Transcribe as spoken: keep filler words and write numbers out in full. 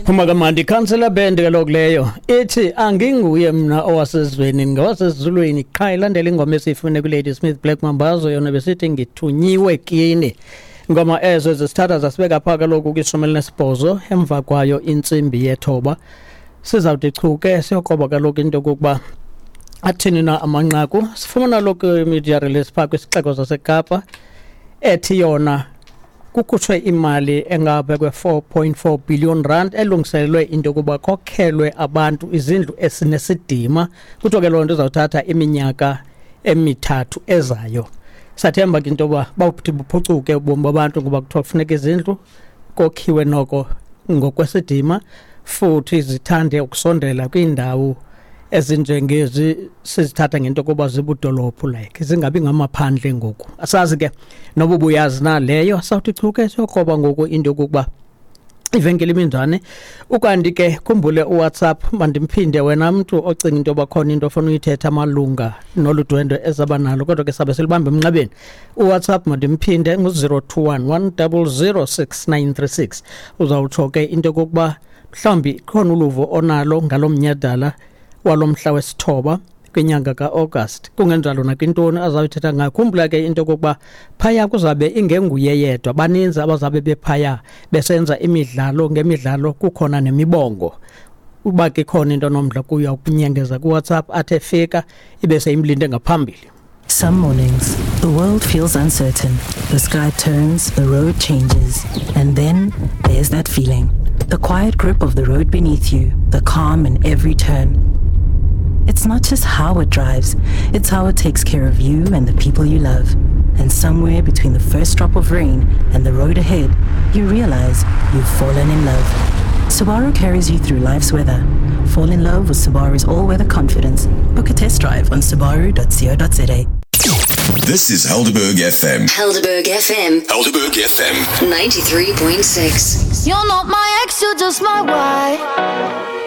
Phuma kamandi councillor band kaloku leyo ithi anginguye mna owasezweni ngowasezulwini qha ilandela ingoma esiyifune ku-Lady Smith Black Mambazo yona besithi ngithunyiwe kini. Ngoma ezo zisithatha zasibeka phaa kaloku kwishumi elinesibhozo emva kwayo intsimbi yethoba. Sizawuthi chu ke siyokroba kaloku into yokokuba athini na amanqaku. Sifumana lokhu media release phaa kwisixeko saseKapa ethi yona kukhutshwe imali engabe kwe-four point four billion rand elungiselelwe into yokuba kokhelwe abantu izindlu esinesidima. Kuthiwa ke loo nto izawuthatha iminyaka emithathu ezayo. Sathemba ke into yoba bawuthi buphucuke ubomi babantu ngoba kuthiwa kufuneka izindlu kokhiwe noko ngokwesidima futhi zithande ukusondela kwiindawo ezinjengezi sizithatha ngento yokuba zibudolophu like zingabi ngamaphandle ngoku. Asazi ke noba ubuyazi na leyo. Sawuthi chu ke siyokroba ngoku into yokokuba ivenkile iminjani. Ukanti ke khumbule uWhatsApp, mandimphinde wena mntu ocinga into yoba khona into ofuna uyithetha malunga nolu dwendwe ezaba nalo, kodwa ke sabe silibambe emnxebeni. UWhatsApp mandimphinde ngu-zero two one one double zero six nine three six. Uzawutsho ke into yokokuba mhlawumbi khona uluvo onalo ngalo mnyhadala walomhla wesithoba kwinyanga ka-August, kungenjalo nakwintoni azawuyithetha ngayo. Khumbula ke into yokokuba phaya kuzabe ingenguye yedwa, baninzi abazabe bephaya besenza imidlalo ngemidlalo, kukhona nemibongo. Uba ke khona into onomdla kuyo ukunyengeza kuWhatsApp athe fika ibe seyimlinde ngaphambili. Some mornings, the world feels uncertain. The sky turns, the road changes, and then there's that feeling. The quiet grip of the road beneath you, the calm in every turn. It's not just how it drives, it's how it takes care of you and the people you love. And somewhere between the first drop of rain and the road ahead, you realize you've fallen in love. Subaru carries you through life's weather. Fall in love with Subaru's all-weather confidence. Book a test drive on subaru dot co dot za. This is Helderberg F M. Helderberg F M. Helderberg F M. ninety-three point six. You're not my ex, you're just my wife.